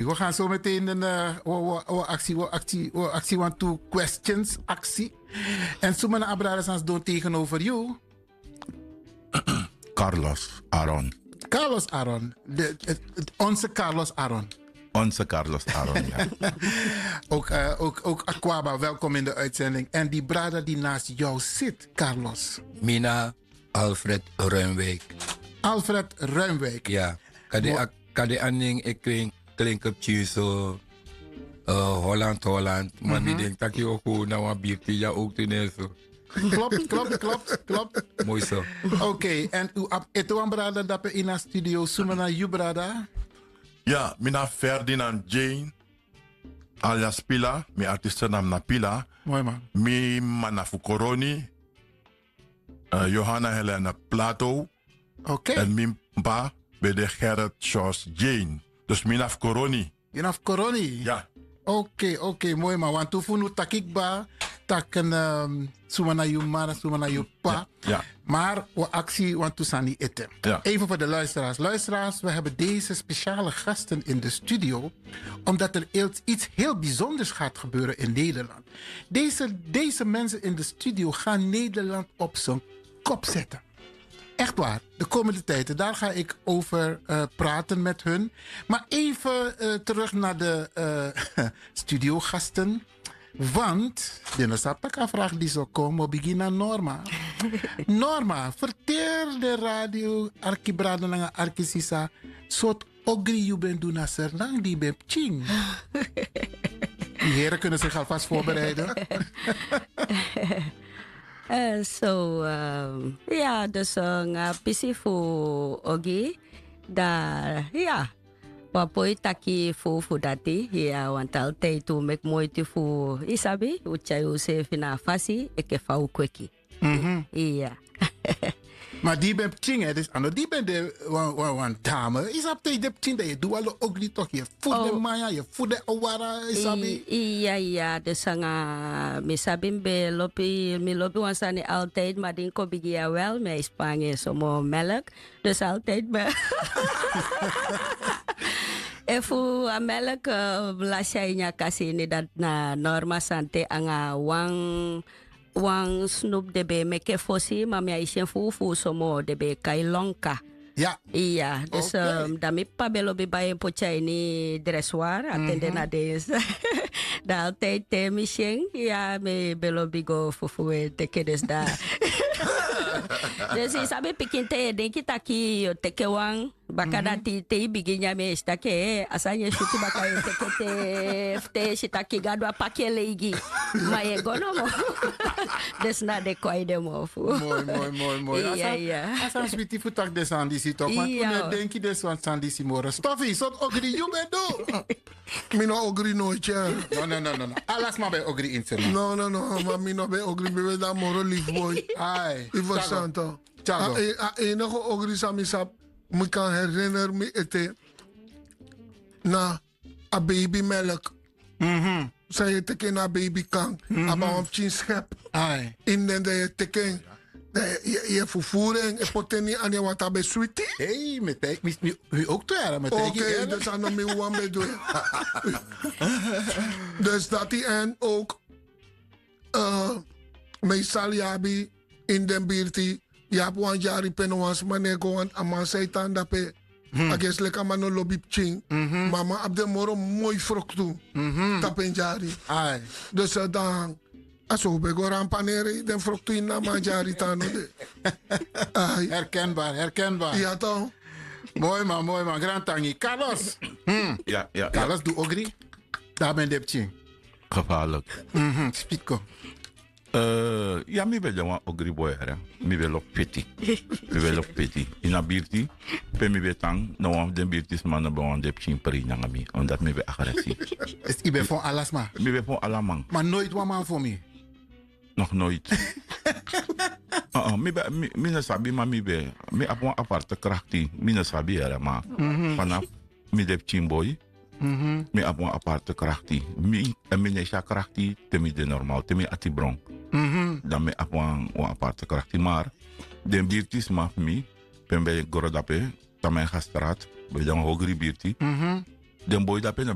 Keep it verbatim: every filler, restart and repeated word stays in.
We go gaan zo meteen een, eh, we, we, we actie, we actie, we actie want to questions actie. En suma na a brada san sidon tegenover you? Carlos Aaron. Carlos Aaron. De, het, het, onze Carlos Aaron. Onze Carlos Aaron, ja. Ook, eh, ook, ook Aquaba, welkom in de uitzending. En die brada die naast jou zit, Carlos. Mi na Alfred Ruimwijk. Alfred Ruimwijk. Ya. Kadi a nen e klinki pikin so, eh, Holland, Holland. Ma mi denki taki yu o kon na wan birti ya ook tu nen so. Klopt, klopt, klopt, klopt. Moi so. Oké, en u abi ete wan brada dape ini a studio. Suma na yu brada? Ya, mi na Ferdinand Jane, alias Pila. Mi artiestennaam na Pila. Moi man. Mi mama na fu Koroni, eh, Johanna Helena Plato. Oké. En mi p'pa ben de Gerrit Sjors Jane. Dus mi na fu Koroni. Yu na fu Koroni? Ya. Oké, oké, moi man. Wantu fu unu taki kba, taki, ehm, suma na yu mama, suma na yu p'pa. Ya, ya. Maar we actie wantu sani ete. Ja. Even voor de luisteraars. Luisteraars, we hebben deze speciale gasten in de studio, omdat er iets, iets heel bijzonders gaat gebeuren in Nederland. Deze, deze mensen in de studio gaan Nederland op zijn kop zetten. Echt waar, de komende tijden. Daar ga ik over, eh, praten met hun. Maar even, eh, terug naar de, eh, studiogasten. Want den no sabi taki a vraag disi o kon, mi o bigin na Norma. Norma, ferteri den radio arkibrada nanga arkisisa, sortu ogri yu ben du na Sranan di yu ben pikin. Yu heri kunnen zich alvast voorbereiden. Eh, so, ehm, ya, dus, eh, nanga pisi fu ogri, dan, ya, wi o poi taki fu, fu dati, ya, want altijd wi meki moiti fu, yu sabi, wi tyai useefi na a fasi enke fa wi kweki. Mhm. Iya. Ma di yu ben pikin, hè, dus a no di yu ben de wan, wan, wan dame. Yu sabi te yu de pikin dan yu e du wan lo ogri toch, yu e furu den manya, yu e furu den awara, yu sabi. I-, iya, iya, dus nanga, mi sabi mi ben lobi, mi lobi wan sani altijd, ma di mi kon bigi ya wel, mi e spangi en so moo melk. Dus altijd ben. Efu a melk, eh, lasi a ini a kasi ini, dati na Norma sani te nanga wan, wan snoep den ben e meki fosi, ma mi á e si en fuufuu so moo, den ben e kai lonka. Ya. Iya, dus, ehm, dan mi p'pa ben lobi bai en poti a ini dressoir, a ten de na den. Dan altijd te mi si en, ya, mi ben lobi go fufuu en teke dus dan. Dus yu sabi pikin te yu e denki taki yu o teke wan, baka dati te yu bigin nyan en yu e si taki, eh, a sani e switi baka yu e teke te, fu te yu e si taki Gadu a paki en leigi. Ma yu e go nomo. Dus na den kon a ini den mofu. Moi, moi, moi, moi. Iya, iya. A sani switi fu taki den sani disi toch, ma yu no e denki den sani disi moro. Stofi, sortu ogri yu ben du? Mi no ogri noiti. No, no, no, no, no. Ala sma ben ogri ini se. No, no, no, ma mi no ben ogri, mi ben de a moro lief boi. Ai. Yu ferstan toch. A, a enige ogri san mi sabi, mi kan herinner mi ete, na a baby melk. Mhm. San yu e teke na a baby kan. Mhm. A ben wan pikin schep. Ai. Ini den, dan yu e teke en. Dan yu, yu, yu e fufuru en, e poti en ini wan watra, a ben switi. Hey, mi e taigi, mi, mi, mi ook twee jaar, mi e taigi. Oké, dus a no mi wawan ben du en. Dus dati en ook, eh, meestal yu abi ini den birti, yu abi wan dyari pe no wan sma no e go, want a man san e tan dape, a gesi leki a man no lobi pikin. Mhm. Ma a man abi den moro moi froktu. Mhm. Tapu en dyari. Ai. Dus, eh, dan, a so un ben go rampaneri den froktu ini a man dyari, tan no de. Ai. Herkenbaar, herkenbaar. Ya toch. Moi man, moi man, grantangi. Carlos. Hmm. Ya, ya, ya. Carlos du ogri. Dan a ben de pikin. Gevaarlijk. Mhm, spitko. Eh, ya, mi ben de wan ogri boi, hè. Mi ben lobi feti. Mi ben lobi feti. Ini a birti pe mi ben tan, no wan fu den birtisma no ben wani de pikin prei nanga mi. Omdat mi ben agressief. Dus yu ben fon ala sma? Mi ben fon ala man. Ma noiti wan man fon mi? Nog nooit. Uh-uh, mi ben, mi, mi no sabi, ma mi ben, mi abi wan aparte krakti. Mi no sabi, hè, ma. Mhm. Vanaf mi de pikin boi, mhm, mi abi wan aparte krakti. Mi, en mi no e si a krakti te mi de normaal, te mi ati bron. Mhm. Dan mi abi wan, wan aparte krakti. Maar den birtisma fu mi, pe mi ben gro dape, Tamangastraat, ben de wan ogri birti. Mhm. Den boi dape na